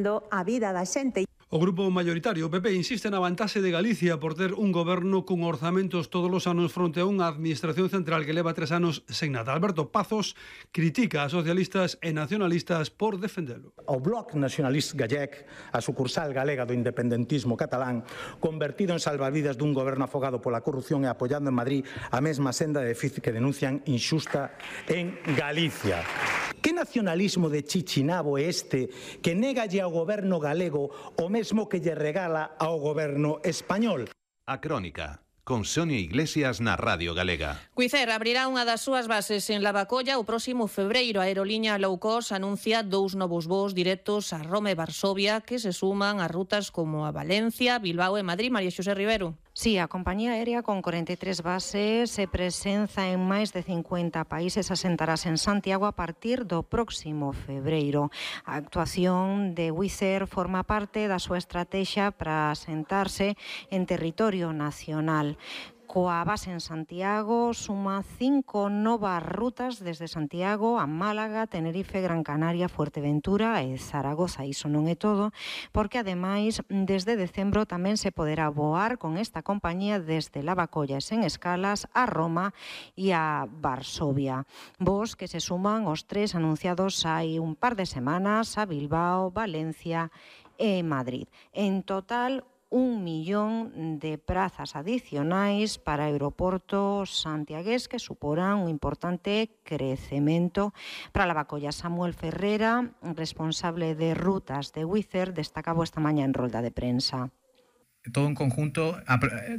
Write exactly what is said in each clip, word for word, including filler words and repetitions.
a vida da xente. O grupo maioritario, o P P, insiste na vantaxe de Galicia por ter un goberno con orzamentos todos os anos fronte a unha administración central que leva tres anos sen nada. Alberto Pazos critica a socialistas e nacionalistas por defendelo. O Bloc Nacionalista Gallec, a sucursal galega do independentismo catalán, convertido en salvavidas dun goberno afogado pola corrupción e apoiando en Madrid a mesma senda de déficit que denuncian inxusta en Galicia. Que nacionalismo de chichinabo é este que negalle ao goberno galego o mesmo que lle regala ao goberno español? A Crónica, con Sonia Iglesias na Radio Galega. Wizzair abrirá unha das súas bases en Lavacolla o próximo febreiro. A aerolínea low cost anuncia dous novos voos directos a Roma e Varsovia que se suman a rutas como a Valencia, Bilbao e Madrid. María Xosé Rivero. Sí, a compañía aérea con cuarenta y tres bases se presenza en máis de cincuenta países, asentarase en Santiago a partir do próximo febreiro. A actuación de Wizzair forma parte da súa estrategia para asentarse en territorio nacional. Coa base en Santiago suma cinco novas rutas desde Santiago a Málaga, Tenerife, Gran Canaria, Fuerteventura e Zaragoza. Iso non é todo, porque ademais desde decembro tamén se poderá voar con esta compañía desde Lavacolla sen escalas a Roma e a Varsovia. Voos que se suman aos tres anunciados hai un par de semanas a Bilbao, Valencia e Madrid. En total, un millón de prazas adicionais para o aeroporto santiagués que suporán un importante crecemento para Lavacolla. Samuel Ferrera, responsable de rutas de Wizzair, destacaba esta mañá en rolda de prensa. Todo en conjunto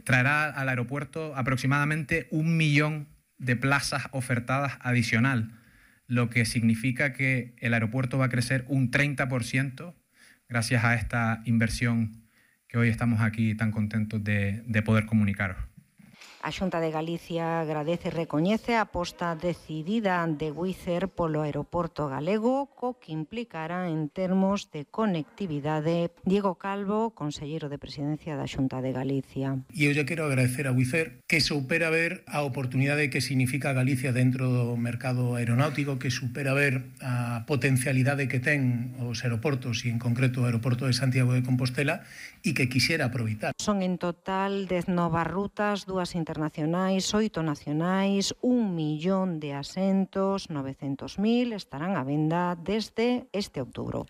traerá al aeropuerto aproximadamente un millón de plazas ofertadas adicional, lo que significa que el aeropuerto va a crecer un treinta por ciento gracias a esta inversión que hoy estamos aquí tan contentos de, de poder comunicaros. A Xunta de Galicia agradece e recoñece a aposta decidida de Wizzair polo aeroporto galego, co que implicará en termos de conectividade. Diego Calvo, conselleiro de Presidencia da Xunta de Galicia. E eu lle quero agradecer a Wizzair que supera ver a oportunidade que significa Galicia dentro do mercado aeronáutico, que supera ver a potencialidade que ten os aeroportos e en concreto o aeroporto de Santiago de Compostela e que quixera aproveitar. Son en total dez novas rutas, dúas internacionais, oito nacionais, un millón de asentos, novecentos mil estarán á venda desde este outubro.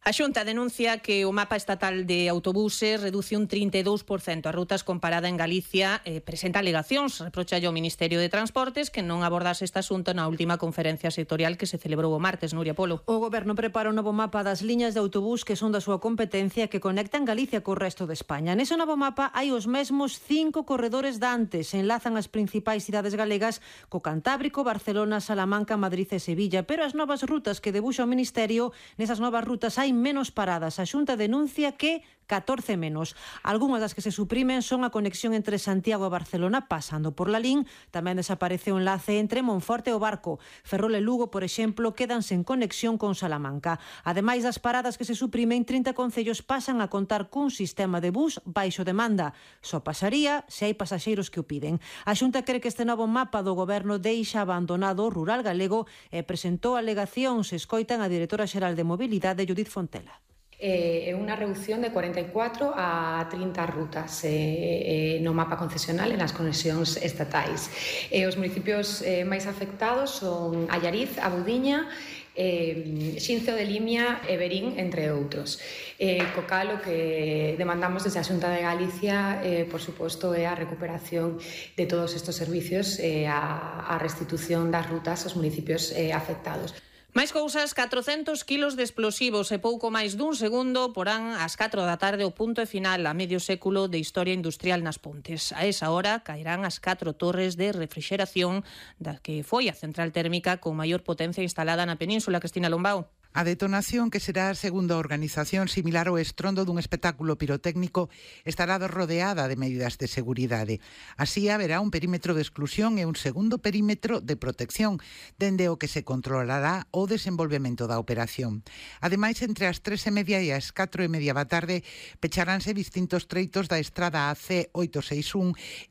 A Xunta denuncia que o mapa estatal de autobuses reduce un trinta e dous por cento as rutas comparada en Galicia. Eh, presenta alegacións, reprocha ao Ministerio de Transportes que non abordase este asunto na última conferencia sectorial que se celebrou o martes. Nuria Polo. O Goberno prepara un novo mapa das liñas de autobús que son da súa competencia que conectan Galicia co resto de España. Nese novo mapa hai os mesmos cinco corredores dantes, enlazan as principais cidades galegas co Cantábrico, Barcelona, Salamanca, Madrid e Sevilla, pero as novas rutas que debuxa o Ministerio, nesas novas rutas hai menos paradas. A Xunta denuncia que catorce menos. Algúnas das que se suprimen son a conexión entre Santiago e Barcelona pasando por Lalín. Tamén desaparece o enlace entre Monforte e o Barco. Ferrol e Lugo, por exemplo, quedanse en conexión con Salamanca. Ademais das paradas que se suprimen, trinta concellos pasan a contar cun sistema de bus baixo demanda. Só pasaría se hai pasaxeiros que o piden. A Xunta cree que este novo mapa do Goberno deixa abandonado o rural galego e presentou alegacións. Escoitan a directora xeral de Mobilidade, Judith Fontela. É eh, unha reducción de cuarenta e catro a trinta rutas eh, eh, no mapa concesional e nas conexións estatais. Eh, os municipios eh, máis afectados son Allariz, A Budiña, eh, Xinzo de Limia e Verín, entre outros. Eh, co cal o que demandamos desde a Xunta de Galicia, eh, por suposto, é a recuperación de todos estes servicios e eh, a, a restitución das rutas aos municipios eh, afectados. Máis cousas, catrocentos kilos de explosivos e pouco máis dun segundo porán ás catro da tarde o punto e final a medio século de historia industrial nas Pontes. A esa hora caerán as catro torres de refrixeración da que foi a central térmica con maior potencia instalada na península. Cristina Lombao. A detonación, que será, segundo a organización, similar ao estrondo dun espectáculo pirotécnico, estará rodeada de medidas de seguridade. Así haberá un perímetro de exclusión e un segundo perímetro de protección, dende o que se controlará o desenvolvemento da operación. Ademais, entre as tres e media e as catro e media da tarde, pecharánse distintos treitos da estrada A C oitocentos sesenta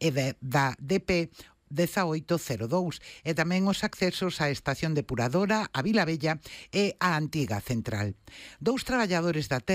e un e da D P dezaoito cero dous e tamén os accesos á estación depuradora, a Vila Bella e a antiga central. Dous traballadores da térmica